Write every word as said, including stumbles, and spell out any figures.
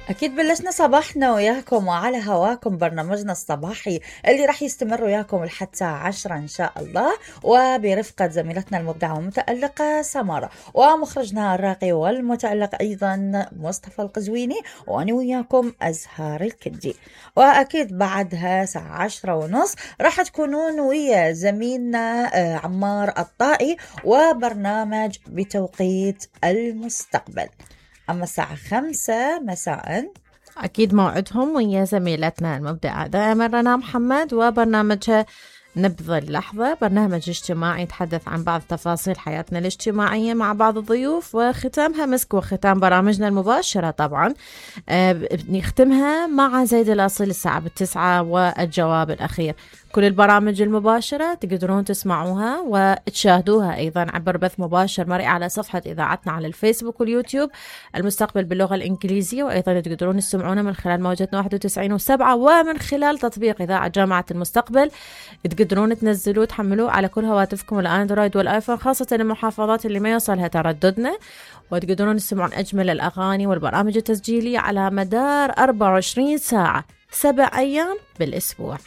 أكيد بلشنا صباحنا وياكم وعلى هواكم برنامجنا الصباحي اللي راح يستمر وياكم لحد الساعة عشرة إن شاء الله، وبرفقة زميلتنا المبدعة والمتألقة سمارة، ومخرجنا الراقي والمتألق أيضا مصطفى القزويني، وأنا وياكم أزهار الكدي. وأكيد بعدها ساعة عشرة ونص راح تكونون ويا زميلنا عمار الطائي وبرنامج بتوقيت المستقبل. أما الساعة خمسة مساء أكيد موعدهم ويا زميلتنا المبدعة دائما رنا محمد وبرنامجها نبض اللحظة، برنامج اجتماعي يتحدث عن بعض تفاصيل حياتنا الاجتماعية مع بعض الضيوف، وختامها مسك وختام برامجنا المباشرة طبعا آه نختمها مع زيد الأصيل الساعة بالتسعة والجواب الأخير. كل البرامج المباشرة تقدرون تسمعوها وتشاهدوها أيضا عبر بث مباشر مرئي على صفحة إذاعتنا على الفيسبوك واليوتيوب المستقبل باللغة الإنجليزية، وأيضا تقدرون تسمعونا من خلال موجتنا واحد وتسعين وسبعة ومن خلال تطبيق إذاعة جامعة المستقبل. تقدرون تنزلوه وتحملوه على كل هواتفكم الأندرويد والآيفون، خاصة المحافظات اللي ما يوصلها ترددنا، وتقدرون تسمعون أجمل الأغاني والبرامج التسجيلية على مدار أربعة وعشرين ساعة سبع أيام بالأسبوع.